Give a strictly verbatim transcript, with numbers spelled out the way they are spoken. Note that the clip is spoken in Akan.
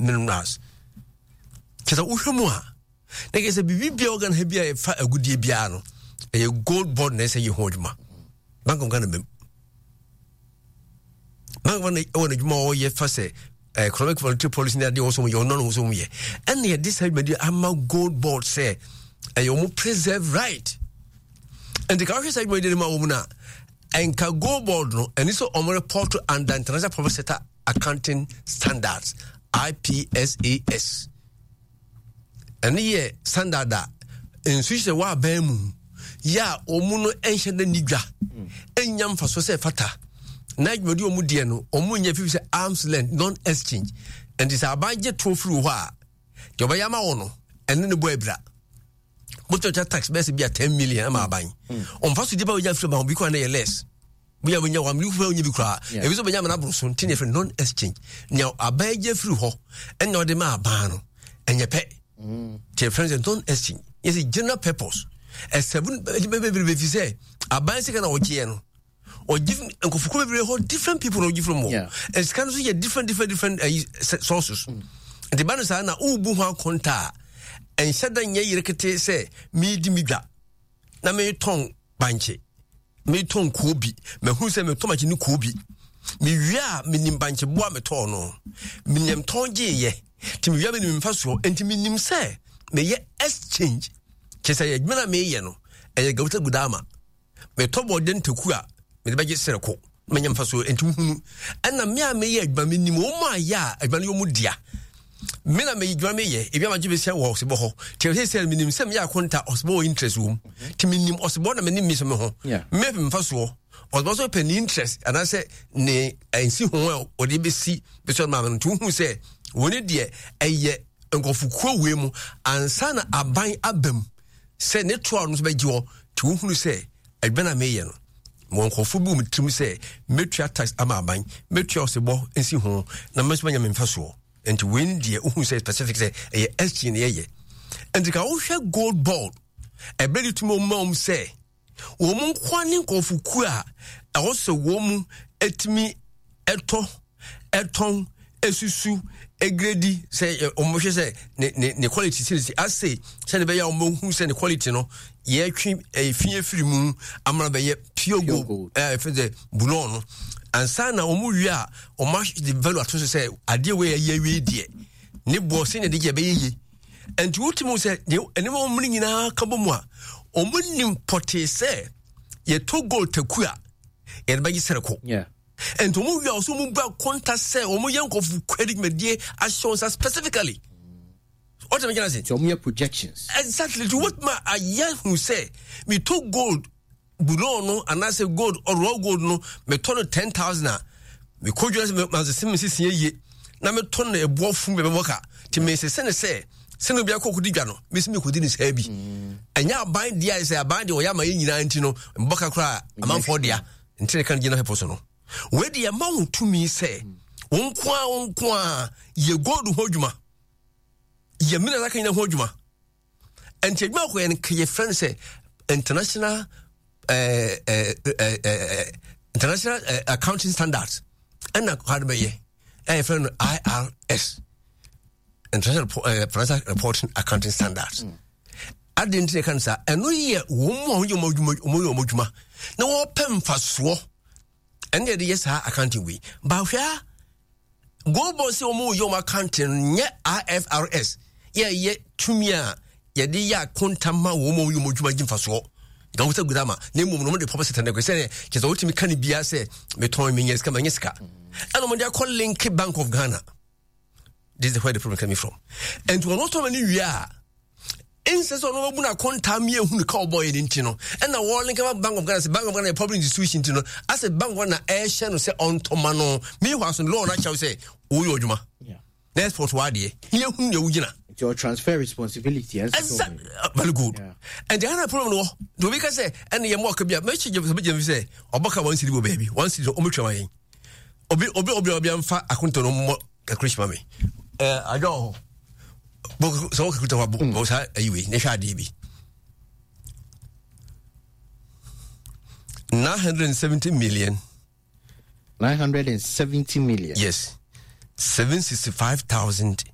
Minerals. Kyɛ sɛ wohwɛ mu a, na kyɛ sɛ biribi biara wɔ Ghana ha bi a ɛfa agudie biara no, ɛyɛ Gold Board na ɛsɛ yɛ ho adwuma. Bank of Ghana mɛm, Bank of Ghana ɛwɔ n'adwuma a ɔyɛ fa sɛ eh, economic monetary policy ne adeɛ wɔ so yɛ, ɔno no so yɛ, ɛna yɛde saa dwumadi ama Gold Board sɛ ɛyɛ wɔn preserve right. Nti ka wohwɛ saa dwumadi no ma wɔ mu no a, ɛnka Gold Board no ɛne sɛ ɔmo report under International Public Sector Accounting Standards, I P S A S. Ɛne yɛ standard a nsu hyɛ wɔ aban mu yɛ a ɔmu no ɛnhyɛ da ni dwa ɛnya mfaso sɛ ɛfata na adwumadi ɔmu deɛ no ɔmu nyɛ fifi sɛ arms length non exchange. Nti sɛ aban gye toɔ firi hɔ a, deɛ ɔbɛyɛ ama wo no ɛne ne bɔ abira. Wotɔ tax bɛyɛ sɛ bi a ten million ama aban, ɔmfa so di ba wonya firi ma obi kora no yɛ less bóyá wonya one million kura, wonya bi koraa, ebi nso bɛnya amana aboro so. Nti ne yɛfrɛ non exchange, nea aban gye firi hɔ ɛna ɔde ma aban no ɛnyɛ pɛ. Nti yɛfrɛ no sɛ non exchange, yɛsɛ general purpose ɛsɛbu bebree fi sɛ aban sika na ɔgyeɛ no, ɔgye nkɔfokuo bebree hɔ, different people na ɔgye firi mu. Sika no nso yɛ different different different uh, sources. Nti ba no saa na wobu ho akonta a, ɛnhyɛ da nyɛ yere kete sɛ meedi me dwa na metɔn bankye, metɔn koobi, mahu sɛ metɔn bankye ne koobi, mewie a menim bankye boa metɔɔ no, menim tɔn gyeeyɛ, nti mewie a menim mfa soɔ, nti menim sɛ meyɛ exchange, kyɛ sɛ adwuma no a meyɛ no ɛyɛ gawuta gudama. Metɔ bɔɔde ntaku a mede bɛgye sereko, manya mfa soɔ. Nti wohunu ɛna me a meyɛ adwuma, menim wɔn mu ayɛ a adwuma no yɛ mu dea. Me na meyɛ adwuma, meyɛ ebi ama gye bɛsia wɔ ɔsebɔ hɔ, nti ɛsɛ sɛ menim sɛ meyɛ akonta, ɔsebɔ wɔ interest wɔ mu, nti menim ɔsebɔ na menim mi so me ho mepɛ mfa soɔ, ɔsebɔ so pɛ ne interest anaasɛ ne nsi ho a ɔde bɛsi bɛsɛ maame no. Nti wohu sɛ wɔne deɛ ɛyɛ nkɔfokuo wei mu ansa na aban aba mu sɛ ne toa no nso bɛgye hɔ. Nti wohunu sɛ adwuma na meyɛ no, wɔ nkɔfo bi wɔ me tirim sɛ mɛtua tax ama aban, mɛtua ɔsebɔ nsi ho na mɛnso manya me mfa soɔ. Nti wei ne deɛ wohu sɛ specific sɛ ɛyɛ exchange ne yɛyɛ. Nti ka wohwɛ Gold Board ɛberɛ de tumi ɔma wɔm sɛ wɔn mu nkoa ne nkɔfokuo a ɛwɔ sɛ wɔn mu atumi ɛtɔ, ɛtɔn, esusu, egrade sɛ wɔn hwɛ sɛ ne ne ne quality sɛ ase sɛde bɛyɛ a wɔn bɛhu sɛ ne quality no yɛtwe ɛyɛ fi efiri mu amana bɛyɛ pure gold, ɛɛ fɛn sɛ bullion no ansa na wɔn wie a wɔn ahwɛ de value ato so sɛ adeɛ wei ɛyɛ wie deɛ ne boɔ sɛ ne de gye ɛbɛyɛ yie. Nti wotumi sɛ nneɛma wɔn mu nyinaa ka bɔ mu a, wɔn nim pɔtee sɛ yɛtɔ gold taku a yɛde bɛgye sɛrɛko. Nti wɔn wia ɔso wɔn bu akonta sɛ wɔn yɛ nkɔfo kwari dwumadie ahyɛ wɔn nsa specifically. Ɔtɛ mi gyina se. Nti wɔn yɛ projections. Exactly. Nti wɔn ma ayɛ hu sɛ metɔ gold bullion no anaasɛ gold, raw gold no, metɔ no ten thousand a, mekɔ dwa sɛ masese me sisi yie na metɔ no ɛboɔ fun bɛ bɛbɔ ka, nti mesese ne sɛ sɛne obi akɔ kɔdi dwa no, mesi mekɔdi ne saa bi. Ɛnyɛ aban deɛ a sɛ aban deɛ ɔyɛ ama yɛ nyinaa nti no mbɔ ka koraa amanfoɔ dea. Nti ne ka no gyina pɛpɔ so no, wei deɛ ɛma wo tumi sɛ wo nko a wo nko a yɛ gold ho adwuma, yɛ mineral aka nyina ho adwuma. Nti adwuma akɔyɛ no yɛfrɛ no sɛ international eh, eh, eh, eh, international eh, accounting standards ɛna kwa no bɛyɛ ɛyɛ yɛfrɛ no I R S, International eh, Financial Reporting Accounting Standards mm. Ade nti na ɛka no saa, ɛno yɛ wɔn mu a wɔyɛ wɔn adwuma, wɔn yɛ wɔn adwuma na wɔpɛ mfasoɔ, ɛne yɛde yɛ saa accounting wei. Bahwɛ a Gold Board sɛ wɔn yɛ wɔn accounting nyɛ I F R S, yɛyɛ tumi a yɛde yɛ akonta ma wɔn mu a wɔyɛ wɔn adwuma gye mfasoɔ nka wɔn sɛ gudama na mmom no wɔn de pɔpɔ sɛ tɛnɛ sɛ kyerɛ sɛ wɔtumi ka ne bia sɛ metɔn menyɛ sika, manyɛ sika, ɛna wɔn de akɔ link Bank of Ghana. This is where the problem coming from. Nti wɔn tɔn ne wie a, nsɛ sɛ ɔno wabu no akonta mi ehu ne ka ɔbɔ yɛ ne nti no, ɛna wɔn link ma Bank of Ghana sɛ Bank of Ghana yɛ public institution, nti no asɛ Bank of Ghana ɛhyɛ no sɛ ɔntɔma no. Meanwhile so law no akyɛw sɛ wɔyɛ adwuma na export wɔ adeɛ ne yɛhu nea wogyina. Nti ɔ transfer responsibility. Exactly, very good. Ɛnti ɛna problem no wɔ nti obi ka sɛ ɛna yɛ mɔ ɔka bi a mɛkyi gye sɛ bɛgyina fi sɛ ɔbɛka one cedi wɔ baabi, one cedi ɔmɛtwa ma yɛn. obi obi obi obi amfa akonto no mmɔ calculation ma me. ɛɛ adwa wɔ hɔ sɛ wɔ calculator hɔ bɔ bɔ saa ayi wei ne hwɛ adeɛ bi, nine hundred and seventy million. Nine hundred and seventy million. Yes, seven sixty five thousand.